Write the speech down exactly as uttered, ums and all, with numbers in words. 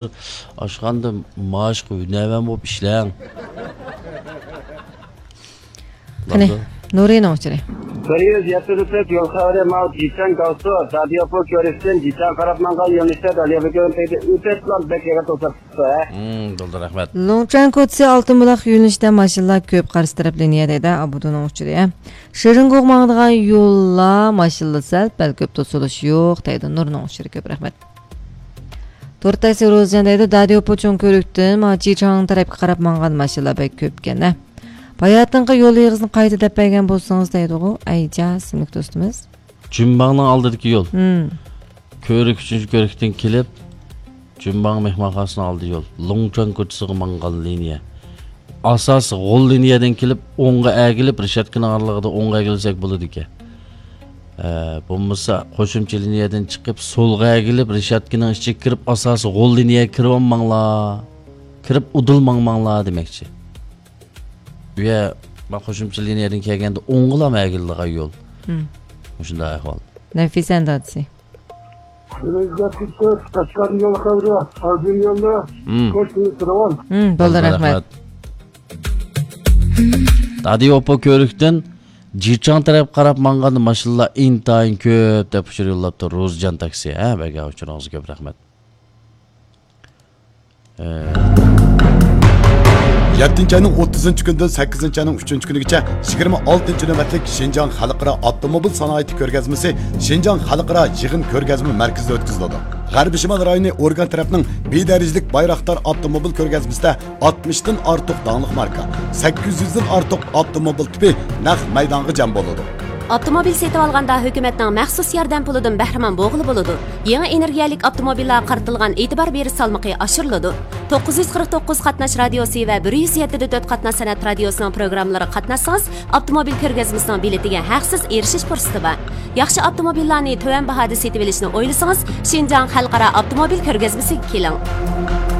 ئاشخانىدا مائاشقا ھۈنەرۋەن بولۇپ ئىشلەڭ. قېنى، نۇرىنىڭ ئۇچۇرى. بىر يۈز يەتتە تۆت يول خەۋىرى، ماۋۇ جىچەن گاۋسۇ، دادىيوپۇ كۆۋرۈكتىن جىچەن قاراپ ماڭغان يۆنىلىشتە دادىيوپۇ كۆۋرۈكتىن ئۆتۈپ، بەك يېقىن توساتتى. ھە؟ ھىم، بولدى، رەھمەت. لۇڭچۈەن كوچىسى ئالتۇن بۇلاق يۆنىلىشىدە ماشىنىلار كۆپ، قارشى تەرەپ لىنىيە دەيدۇ، ئابۇدۇنىڭ ئۇچۇرى. ھە؟ شېرىنگوغ ماڭىدىغان يوللار ماشىنىلار سەل، بەلكى كۆپ توسۇلۇش يوق دەيدۇ، نۇرنىڭ ئۇچۇرى كۆپ، رەھمەت. تورتاي سىروزجان دەيدۇ، داديوپۇ چوڭ كۆۋرۈكتىن ما جىچاڭ تەرەپكە قاراپ ماڭغان ماشىنىلار بەك كۆپكەن، ھە. باياتىنقى يول ئېغىزىنى قايتا دەپ بەرگەن بولسىڭىز دەيدىغۇ، ئەيجا ئىسىملىك دوستىمىز. جۈنباڭنىڭ ئالدىدىكى يول. ھىم. كۆۋرۈك، ئۈچىنچى كۆۋرۈكتىن كېلىپ، جۈنباڭ مېھمانخانىسىنىڭ ئالدى يول. لۇڭچۈەن كوچىسىغا ماڭغان لىنىيە. ئاساسىي غول لىنىيەدىن كېلىپ، ئوڭغا ئەگىلىپ، رېشاتكىنىڭ ئارىلىقىدا ئوڭغا ئەگىلسەك بولىدىكەن. ئە، بولمىسا، قوشۇمچە لىنىيەدىن چىقىپ، سولغا ئەگىلىپ، رېشاتكىنىڭ ئىچىگە كىرىپ، ئاساسىي غول لىنىيەگە كىرىۋالماڭلار. كىرىپ ئۇدۇل ماڭماڭلار دېمەكچى. ئۇ يەر، ما قوشۇمچە لىنىيەدىن كەلگەندە ئوڭغىلام ئەگىلىدىغان يول. ھىم. مۇشۇنداق ئەھۋال. نەفىسە دادىسى. قەشقەر يول خەۋىرى، ئازىم يولى، ھىم. كوچىنى تۇرۇۋال. ھىم، بولدى، بولدى، رەھمەت. رەھمەت. دادىيوپۇ كۆۋرۈكتىن جىچاڭ تەرەپ قاراپ ماڭغان ماشىنىلار ئىنتايىن كۆپ دەپ ئۇچۇر يوللاپتۇ. روزىجان تاكسى، ھە، بەرگەن ئۇچۇرىڭىزغا كۆپ رەھمەت. ئە. يەتتىنچى ئاينىڭ ئوتتۇزىنچى كۈنىدىن سەككىزىنچى ئاينىڭ ئۈچىنچى كۈنىگىچە يىگىرمە ئالتىنچى نۆۋەتلىك شىنجاڭ خەلقئارا ئاپتوموبىل سانائىتى كۆرگەزمىسى شىنجاڭ خەلقئارا يىغىن كۆرگەزمە مەركىزىدە ئۆتكۈزۈلىدۇ. غەربىي شىمال رايونى ئورگان تەرەپنىڭ بىر دەرىجىلىك بايراقدار ئاپتوموبىل كۆرگەزمىسىدە ئاتمىشتىن ئارتۇق داڭلىق ماركا، سەككىز يۈزدىن ئارتۇق ئاپتوموبىل تىپى نەق مەيدانغا جەم بولىدۇ. ئاپتوموبىل سېتىۋالغاندا ھۆكۈمەتنىڭ مەخسۇس ياردەم پۇلىدىن بەھرىمەن بولغىلى بولىدۇ. يېڭى ئېنېرگىيەلىك ئاپتوموبىللارغا قارىتىلغان ئېتىبار بېرىش سالمىقى ئاشۇرۇلىدۇ. توققۇز يۈز قىرىق توققۇز قاتناش رادىيوسى ۋە بىر يۈز يەتتە دە تۆت قاتناش سەنئەت رادىيوسىنىڭ پروگراممىلىرىغا قاتناشسىڭىز، ئاپتوموبىل كۆرگەزمىسىنىڭ بېلىتىگە ھەقسىز ئېرىشىش پۇرسىتى بار. ياخشى ئاپتوموبىللارنى تۆۋەن باھادا سېتىۋېلىشنى ئويلىسىڭىز، شىنجاڭ خەلقئارا ئاپتوموبىل كۆرگەزمىسىگە كېلىڭ.